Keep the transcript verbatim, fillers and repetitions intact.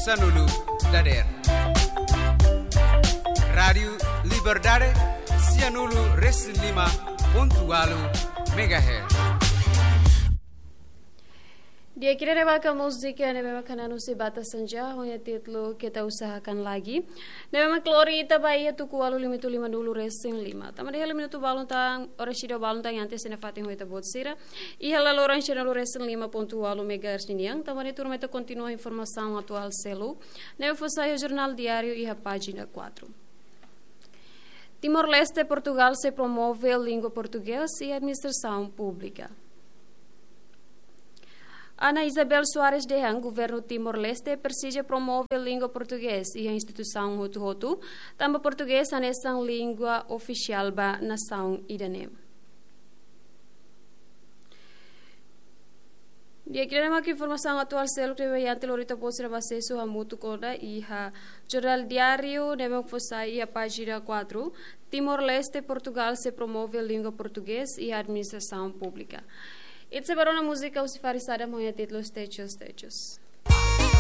Sanulu dader. Rádiu Liberdade, sianulu resin lima pontu ualu megahertz. Dia kira ne'ebé mak múzika ne'ebé mak hananusi batasan ja, ho nia títulu Kita Usahakan Lagi. Ne'ebé mak lori ita ba iha tuku ualu limitu limanulu resin lima. Tanba ne'e hela minutu balun tan, oras ida balun tan iha ita-nia fatin ho ita-boot sira. Iha laloran sianulu resin lima pontu ualu megahertz ninian, tanba ne'e tuirmai ita kontinua informasaun atuál seluk ne'ebé fó sai iha Jornál Diáriu iha pájina quatro. Timor-Leste, Portugal sei promove língua portugés iha administrasaun públika. Ana Isabel Soares dehan governu Timor-Leste presiza promove língua portugés iha instituisaun hotu-hotu, tanba portugés hanesan língua ofisiál ba nasaun ida-ne'e. Dia kira ne'e mak informasaun atuál seluk ne'ebé mak lori ita-boot sira ba asesu hamutuk ona iha Jornál Diáriu ne'ebé mak fó sai iha pájina quatro. Timor-Leste, Portugal sei promove língua portugés iha administrasaun públika. Ita sei ba rona múzika husi Faris Adam ho nia títulu Stay Tuned, Stay Tuned.